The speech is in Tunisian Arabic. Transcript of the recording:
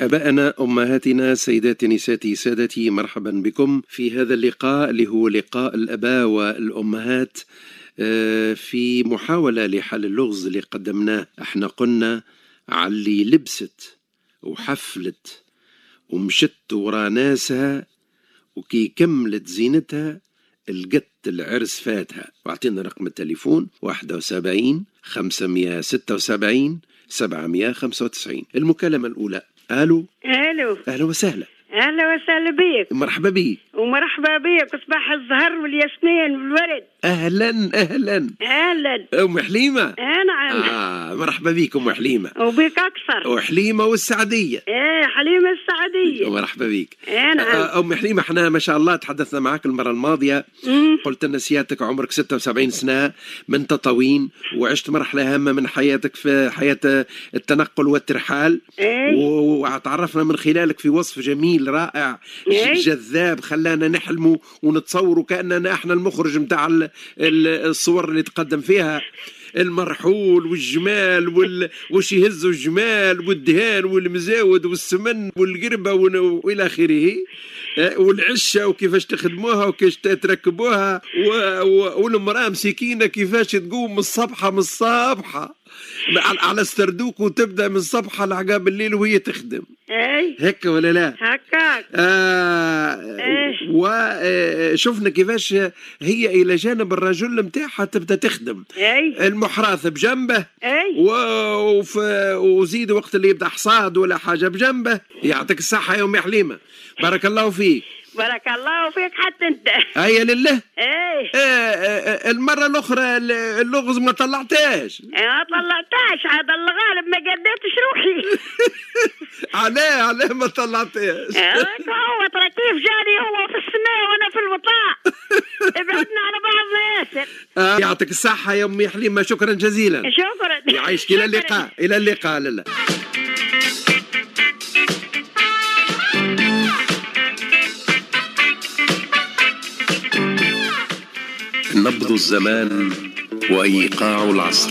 أبائنا، أمهاتنا، سيداتي، نساتي، سادتي، مرحبا بكم في هذا اللقاء اللي هو لقاء الأباء والأمهات في محاولة لحل اللغز اللي قدمناه. احنا قلنا علي لبست وحفلت ومشت ورا ناسها وكي كملت زينتها لقت العرس فاتها. واعطينا رقم التليفون 71 576 795. المكالمة الأولى. ألو. ألو. أهلا وسهلا. أهلا وسهلا بك. مرحبا بك. ومرحبا بك، صباح الزهر والياسمين والورد. أهلا أهلا. أهلا. أم حليمة. نعم. مرحبا بك أم حليمة. وبك أكثر. وحليمة والسعدية. إيه حليمة السعدية. مرحبا بك. نعم. أم حليمة، احنا ما شاء الله تحدثنا معك المرة الماضية. قلت لنا سيادتك عمرك 76 سنة من تطاوين، وعشت مرحلة هامة من حياتك في حياة التنقل والترحال. وتعرفنا من خلالك في وصف جميل رائع جذاب خلانا نحلموا ونتصوروا كأننا احنا المخرج متاع الصور اللي تقدم فيها المرحول والجمال وش يهزوا الجمال والدهان والمزاود والسمن والقربة وإلى آخره، والعشة وكيفاش تخدموها وكيفاش تركبوها، والمرأة مسكينة كيفاش تقوم من الصبحة من الصبحة على السردوك وتبدأ من الصبحة لعقاب الليل وهي تخدم. اي هكا ولا لا؟ هكاك. وشفنا كيفاش هي إلى جانب الرجل متاعها تبدأ تخدم. اي المحراث بجنبه. اي وزيد وقت اللي يبدأ حصاد ولا حاجة بجنبه. يعطيك الصحة يا أم حليمة، بارك الله فيك. بارك الله فيك حتى انت. هيا لله. ايه. المرة الأخرى اللغز ما طلعتهاش. ما طلعتهاش، هذا الغالب ما قدرتش روحي. علاه ما طلعتهاش؟ هو ترى كيف جاني هو في السماء وانا في الوطاء. ابعدنا على بعضنا ياسر. يعطيك الصحة يا أمي حليمة، شكرا جزيلا. شكرا. يعيشك. إلى اللقاء. إلى اللقاء. لله. نبض الزمان وإيقاع العصر.